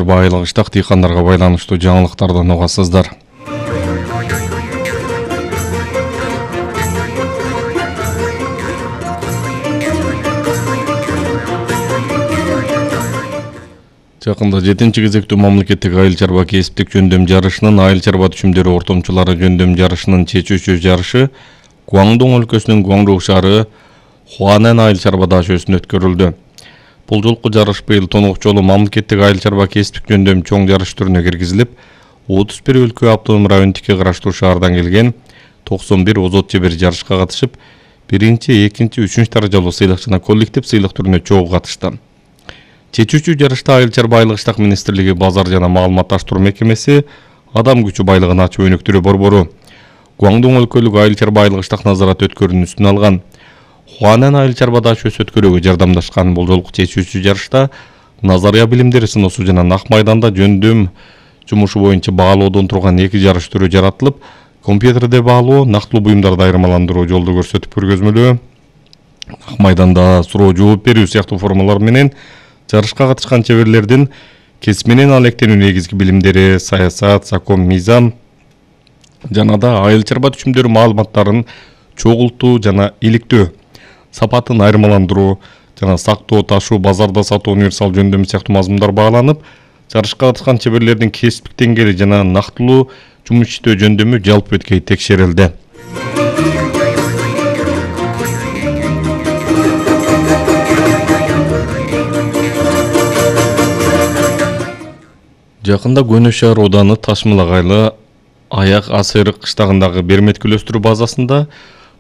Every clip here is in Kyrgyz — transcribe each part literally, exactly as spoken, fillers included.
Байлык иштак дыйкандарга байланыштуу жаңылыктардан угасыздар. Жакында жетинчи кезектүү мамлекеттик айыл чарба кесиптик жөндөм жарышынын айыл чарба түшүмдөрү ортомчулары жөндөм жарышынын чечүүчү жарышы Гуандong өлкөсүнүн Гуандong шаары Хуанэн айыл чарба дашөсүндө өткөрүлдү. Бул жолку жарыш быйыл тонук жолу мамлекеттик айыл чарба кесиптик жөндөм чоң жарыш түрүнө киргизилип, отуз бир өлкө автоном райондуки караштуу шаардан келген токсон бир озот жебер жарышка катышып, биринчи, экинчи, үчүнчү даражалуу сыйлык жана коллектив сыйлык түрүнө чогуу катышты. Чечүүчү жарышта айыл чарба айлык иштак министрлиги базар жана маалыматташтыруу мекемеси адам күчү байлыгын ачуу өнүктүрүү борбору Гуандong өлкөлүк айыл чарба айлык иштак назарат өткөрүүнүн үстүнө алган. Хуанэн айыл чарба дашөсү өткөрүүгө жардамдашкан. Бул жолку чечүүчү жарышта назария билимдери сыноосу жана нак майданда жөндөм жумушу боюнча баалоодон турган эки жарыш түрү жаратылып, компьютерде баалоо, нактылуу буюмдарды айырмаландыруу, жолду көрсөтүп көргөзмөлөө, нак майданда суроо жооп берүү сыяктуу формалар менен жарышка катышкан чеберлердин кесип менен алектенүү негизги билимдери, саясат, закон, мыйзам жана да айыл чарба түшүмдөрү маалыматтарын чогултуу жана иликтөө, сапатын айырмаландыруу жана сактоо, ташуу, базарда сатуу, универсал жөндөмү сыяктуу мазмундар бааланып, жарышка катышкан чеберлердин кесиптик деңгээли жана нактылуу жумуш иштөө жөндөмү жалпы өткөй текшерилди. Жакында Көнө шаар ооданы Ташмылагайлы Аяк Асырык кыштагындагы берметкүл өстүрүү базасында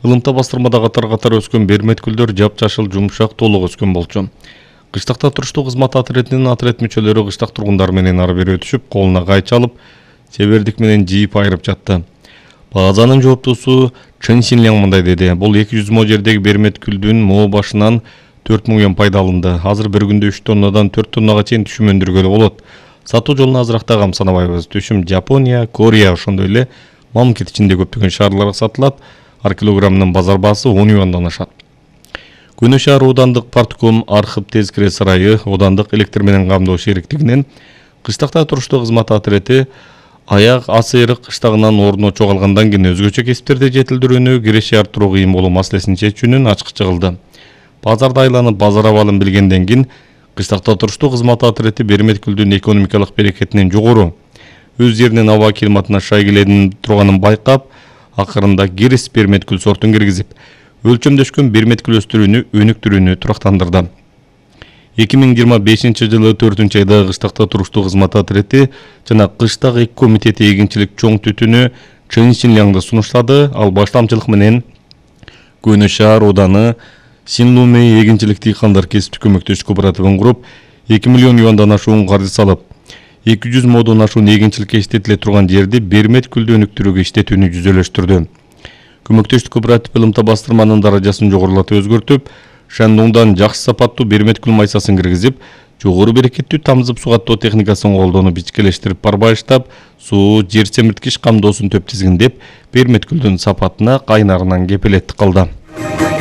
ылымта бастырмада катар-катар өскөн берметкүлдөр жапжашыл, жумшак, толук өскөн болчу. Кыштакта туруштуу кызмат отретинин отрет мүчөлөрү кыштак тургундар менен ары бери өтүшүп, колуна кайчы алып, чебердик менен жийип айырып жатты. Базанын жооптуусу Чын Синляң мындай деди: "Бул эки жүз мо жердеги берметкүлдүн мо башынан төрт миң пайда алынды. Азыр бир күндө үч тоннадан төрт тоннага чейин түшүм өндүргөлү болот. Сатуу жолуна азыракта камсанабайбыз. Түшүм Жапония, Корея, ошондой эле мамлекет ичинде көптөгөн шаарларга сатылат. Ар килограммынын базар баасы он юандан ашат." Көнө шаар оодандык партком Архып Тезкире сарайы оодандык электр менен камдоо шериктигинин кыштакта туруштуу кызмат отрети Аяк Асырык кыштагынан ордуна чогалгандан кийин өзгөчө кесиптерди жетилдирүүнү, киреше арттыруу кыйын болуу маселесин чечүүнүн ачкы чыгылды. Базарда айланып, базар абалын билгенден кийин кыштакта туруштуу кызмат отрети берметкүлдүн экономикалык берекетинен жогору, өз жеринин аба климатына шай келе турганын байкап, акырында кирис берметкүл сортун киргизип, өлчөмдөшкөн берметкүл өстүрүүнү өнүктүрүүнү турактандырды. эки миң жыйырма бешинчи жылы төртүнчү айда кыштакта туруштуу кызмат отрети жана кыштак эки комитети эгинчилик чоң түтүнү Чын Синляңды сунуштады. Ал баштамчылык менен Көнө шаар ооданы Синлумей эгинчилик дыйкандар кесиптик көмөктөш кооперативин куруп, эки миллион юандан ашуун каржы салып, эки жүз модон ашуун эгинчиликке иштетиле турган жерди берметкүлдү өнүктүрүүгө иштетүүнү жүзөлөштүрдү. Көмөктөштүк кооператив ылымта бастырманын даражасын жогорулатып өзгөртүп, Шандоңдон жакшы сапаттуу берметкүл майсасын киргизип, жогору берекеттүү тамызып сугаттоо техникасын колдонуп ичкелештирип барбайыштап, суу, жер семирткич камдоосун төп тизгиндеп, берметкүлдүн сапатына кайнарынан кепилеттик кылды.